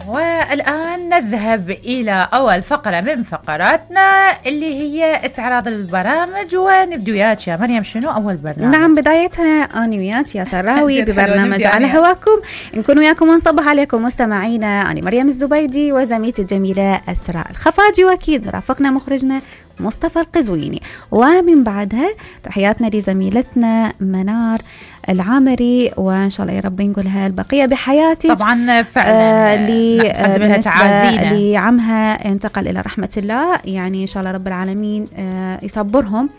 والآن نذهب إلى أول فقرة من فقراتنا اللي هي استعراض البرامج، ونبدو وياك يا مريم شنو أول برنامج؟ نعم بدايتها أنا وياك يا سراوي ببرنامج على هواكم. نكون وياكم ونصبح عليكم مستمعينا. أنا مريم الزبيدي وزميلتي الجميلة أسراء الخفاجي، وأكيد رافقنا مخرجنا مصطفى القزويني. ومن بعدها تحياتنا لزميلتنا منار العامري، وإن شاء الله يا رب نقولها البقية بحياتك. طبعا فعلا نقدم لها تعازينا لعمها انتقل إلى رحمة الله، يعني إن شاء الله رب العالمين يصبرهم،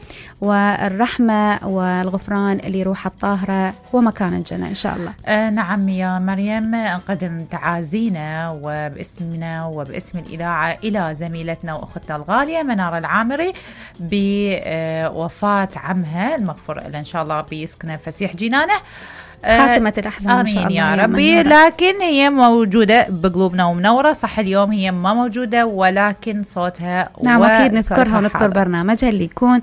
والرحمة والغفران اللي روح الطاهرة ومكان الجنة إن شاء الله. نعم يا مريم، نقدم تعازينا وباسمنا وباسم الإذاعة إلى زميلتنا وأختنا الغالية منار العامري بوفاة عمها المغفور له إن شاء الله بيسكنه فسيح جنانه، خاتمة الأحزان إن شاء الله يا ربي. لكن هي موجودة بقلوبنا ومنورة. صح اليوم هي ما موجودة، ولكن صوتها نعم أكيد نذكرها ونذكر برنامجها اللي يكون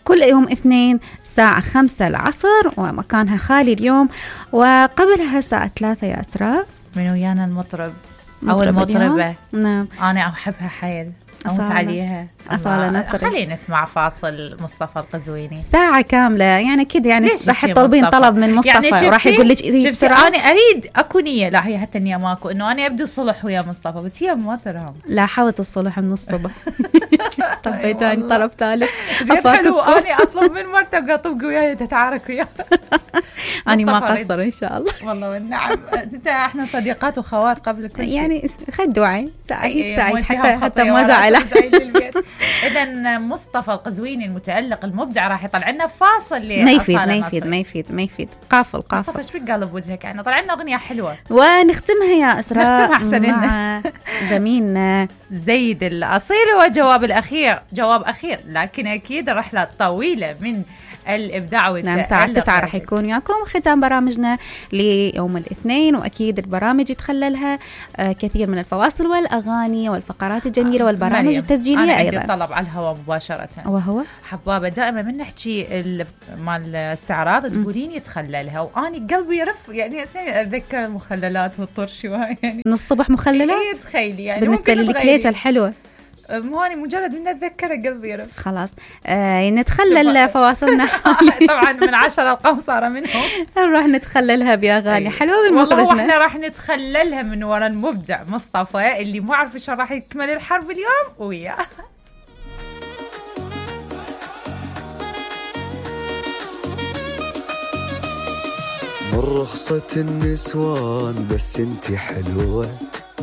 كل يوم اثنين الساعة 5 العصر، ومكانها خالي اليوم. وقبلها الساعة 3 يا أسراء من ويانا المطرب أو المطربة. نعم أنا أحبها حيل، أموت عليها. خلينا نسمع فاصل مصطفى القزويني ساعة كاملة يعني كده، يعني راح تطلبين طلب من مصطفى يعني وراح يقول لك بسرعة. أنا أريد أكو نية، لا هي حتى النية ماكو، إنه أنا أبدو صلح ويا مصطفى، بس هي ما ترهم. لا حاولت الصلح من الصبح. طبيتاني طلب ثالث حلو. أنا أطلب من مرتك أطبق وياي تتعارك وياي. أنا ما قصر إن شاء الله. والله والنعم. إحنا صديقات وخوات قبل كل شيء، يعني خدوعي سعيد حتى ما زعله. إذن مصطفى القزويني المتألق المبدع راح يطلع لنا فاصل. ما يفيد قافل. مصطفى ايش بك قالب وجهك؟ يعني طلع لنا أغنية حلوة ونختمها يا أسراء مع زميلنا زيد الأصيل. وجواب الأخير جواب أخير، لكن أكيد رحلة طويلة من الإبداع والتألق. نعم الساعة 9 راح يكون وياكم ختام برامجنا ليوم الاثنين، وأكيد البرامج يتخللها كثير من الفواصل والأغاني والفقرات الجميلة والبرامج التسجيلية أنا أيضا. عندي طلب على الهواء مباشرة، وهو حبابة دائما من نحكي مال الاستعراض تقولين يتخللها، وأني قلبي يرف يعني أتذكر المخللات والطرش يعني نص صبح مخللات. تخيلي يعني بالنسبة للكليتة الحلوة مهاني مجرد من أتذكر قلبي يرف. خلاص نتخلل فواصلنا. طبعا من 10 القمصارة منهم نروح نتخللها بأغاني حلوة بالمخرجنا. والله احنا راح نتخللها من وراء المبدع مصطفى اللي مو عارف شو راح يكمل الحرب اليوم وياه. من رخصة النسوان بس انتي حلوة،